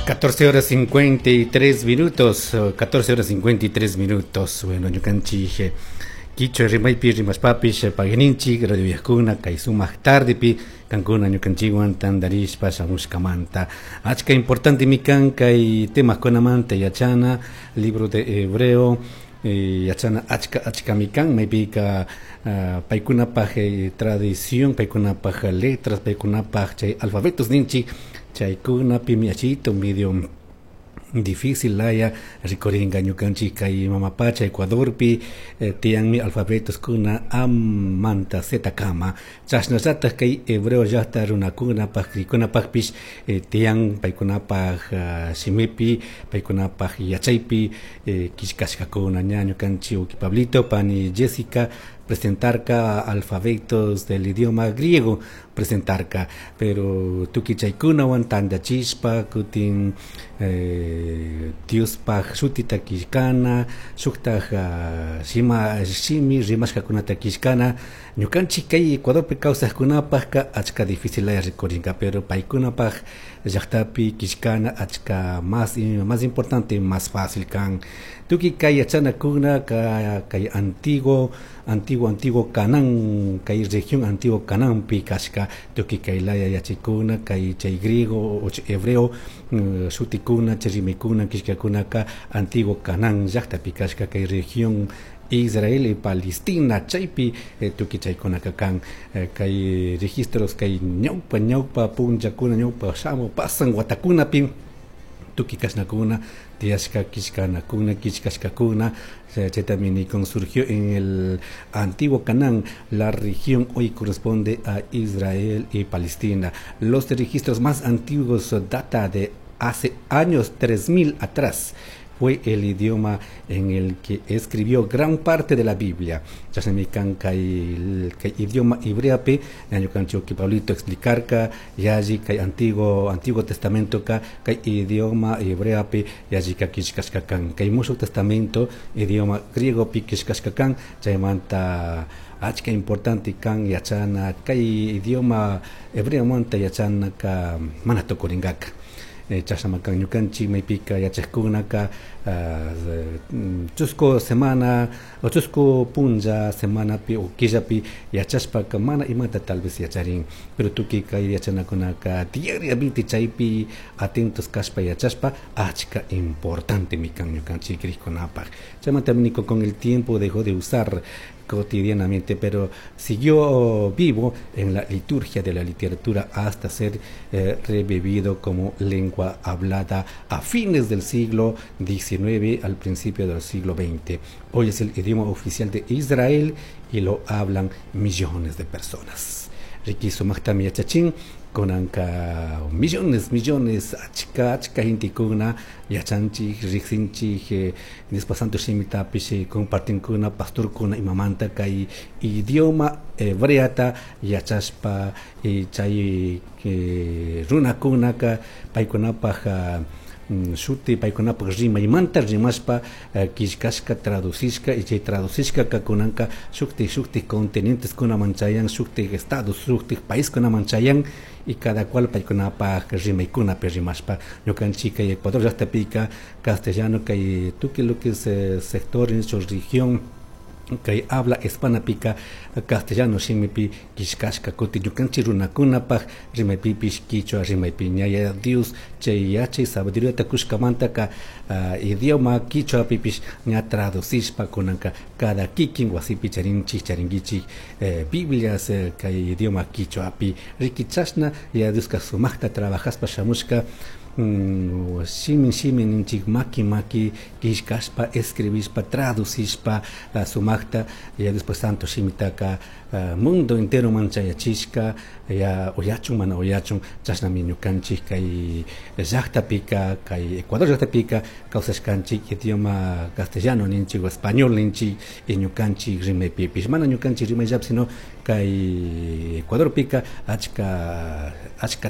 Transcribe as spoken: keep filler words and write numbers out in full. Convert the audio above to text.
catorce horas cincuenta y tres minutos, catorce horas cincuenta y tres minutos. Bueno, ñukanchik kichwa rimaypi rimashpapish pagui ninchik radio uyajkuna kay sumak tardepi kankuna ñukanchikwan tandarishpa shamushkamanta. Achka importante kan kay temakunamanta yachana, libro de Hebreo eh, yachana achka achkami kan, maypika uh, paykunapaj eh, tradición, paykunapaj letras, paykunapaj chay alfabetos ninchik, chaykunapimi achito medio difícil laya rikuringa ñukanchik kay mama pacha Ecuadorpi eh, tiyanmi alfabetos kuna A manta Z kama, chashnallatak kay hebreo llakta runakunapaj crikunapajpish eh, tiyan paykunapaj uh, shimipi, paykunapaj yachaypi eh, killkashkakuna. Ña ñukanchik uki Pablito, pani Jessica presentarka alfabetos del idioma griego presentarka, pero tukuy chaykunawan tandachishpa kutin eh, Diospaj shutita killkana, shuktaj uh, shima shimi rimashkakunata killkana, ñukanchik kay Ecuadorpi kawsajkunapajka achka difícil laya rikurinka, pero paykunapaj llaktapi killkana achka más más importante, más fácil kan. Tukuy kay yachanakuna ka kay antiguo antiguo antiguo Canaán, kay región antiguo Canaanpi kashka tukuy kay laya yachaykuna, kay chay griego o hebreo uh, shutikuna, chay rimaykuna killkakunaka antiguo Canaán llaktapi kashka, kay región Israel y Palestina, chaypi eh, tukuy chaykunaka kan eh, kay registros kay ñawpa ñawpa punllakuna, ñawpa shamu pasan watakunapi tukuy kashnakuna tiyashka killkanakuna killkashkakuna. Chaytami nikun, surgió en el antiguo Canaán, la región hoy corresponde a Israel y Palestina. Los registros más antiguos data de hace años tres mil atrás. Fue el idioma en el que escribió gran parte de la Biblia. Chashnami kan kay kay idioma hebreapi ñukanchik uki Pablito explicarka yalli kay antiguo Antiguo Testamento ka kay idioma hebreapi yallika killkashka kan, kay Mushuq Testamento idioma griegopi killkashka kan. Chaymanta achka importante kan yachana kay idioma hebreomanta, yachanaka mana tukurinkaka. eh, chashnaman ñukanchik maypika yachakkunaka uh, chusku semana o chusku punlla semanapi o killapi yachashpaka mana imata tal vez yacharin, pero tukuy kay yachanakunaka diariamente chaypi atentos kashpa yachashpa achka importante kan ñukanchik crikkunapaj. Chaymanta niko, con el tiempo dejó de usar cotidianamente, pero siguió vivo en la liturgia de la literatura hasta ser eh, revivido como lengua hablada a fines del siglo diecinueve al principio del siglo veinte. Hoy es el idioma oficial de Israel y lo hablan millones de personas. Riqui, sumajtami yachachin kunanka millones millones achka achka gentekuna yachanchik, riqsinchik eh, Diospa santo shimitapish compartinkuna pastorkuna imamanta kay idioma hebreata yachashpa eh, chay eh, runakunaka paykunapaj mm, shuti, paykunapaj rimaymanta rimashpa killkashka, traducishka, y chay traducishkaka kunanka shuktik shuktik continenteskunaman chayan, shuktik estados, shuktik paiskunaman chayan, y cada cual paykunapaj rimaykunapi rimashpa. Ñukanchik kay Ecuador llaqtapika castellano, kay tukuy lo que es eh, sector en su región kay habla hispanapika castellano shimipi killkashka, kutin ñukanchik runakunapaj rimaypipish kichwa rimaypi. Yaya Dios chay yachay sabiduriata kushkamantaka uh, idioma kichwapipish ña traducishpa kunanka cada kikin wasipi charinchik, charinkichik eh, Biblias eh, kay idioma kichwapi. Riqui, chashna Yaya Dioska sumajta trabajaspa shamushka, mm, shimin shimin ninchik, maki maki killkashpa, escribishpa, traducishpa uh, sumajta ya después santo shimitaka uh, mundo entero man chayachishka, ya uyachun mana uyachun. Chashnami ñukanchik kay llaqtapika, kay Ecuador llaqtapika kawsashkanchik, idioma castellano ninchik o español ninchik, y ñukanchik rimaypipish, mana ñukanchik rimayllapi, sino kay Ecuadorpika achka achka